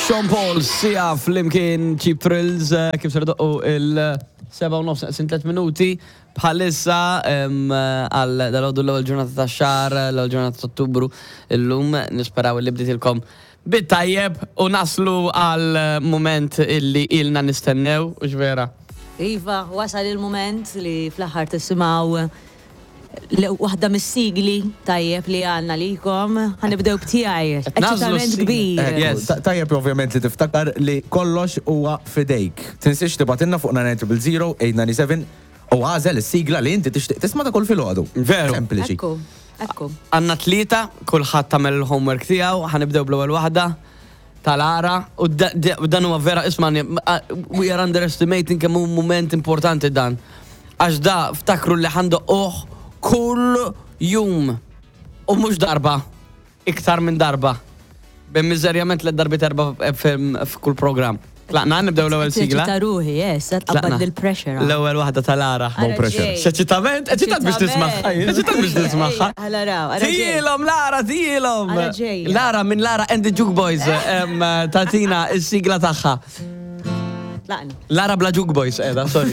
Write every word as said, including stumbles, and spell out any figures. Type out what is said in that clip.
Sean Paul, Sia flimkien Cheap Thrills, eh, kif ser idoqqu is-sebgħa u nofs neqsin tliet minuti bħalissa em, għal dalgħodu, l-ewwel ġurnata ta' xahar, l-ewwel ġurnata ta' Ottubru, illum nisperaw li bditilkom bit-tajjeb u naslu għal moment illi ilna nistennew, u vera. Iva, wasal il-moment li fl-aħħar tisimgħu waħda mis-sigli tajjeb li għandna likom. Ħa nibdew b'tiegħi. Nażlu Eċitament s-sigla. Kbir. Eh, Yes. Ta- Tajjeb ovvjament li tiftakar li kollox huwa fidejk. Tinsiex tibgħatilna fuq nine zero zero, eight nine seven u agħżel is-sigla li inti tixtieq tisma' ta' kull filgħodu. Veru. Sempliċi. Ekku, ekku. Għandna tlieta, kulħadd tagħmel il-homework tiegħu, ħa nibdew bl-ewwel waħda tal-ara u da- da- u dan huwa vera, isma', we are underestimating kemm hu moment importanti dan. Għax da ftakru li ħa ndoqquh kull jum u mhux darba, iktar minn darba. B'miżerjament li darbiet erba' f'kull program. Tlaqna, nibdew l-ewwel sigla. Ta' ruħi, yes, tqabbad il-pressure. L-ewwel waħda tal-ara. Ara Pressure. ġej. X'eċitament, eċitat biex tismagħha, eċitat biex tismagħha. Ħa naraw, ara ġej. Tihilhom, Lara, tihilhom. Ara ġejja. Lara minn Lara and the Juke Boys em, tatina is-sigla tagħha. Tlaqna. Lara bla Juke Boys, edha, sorry.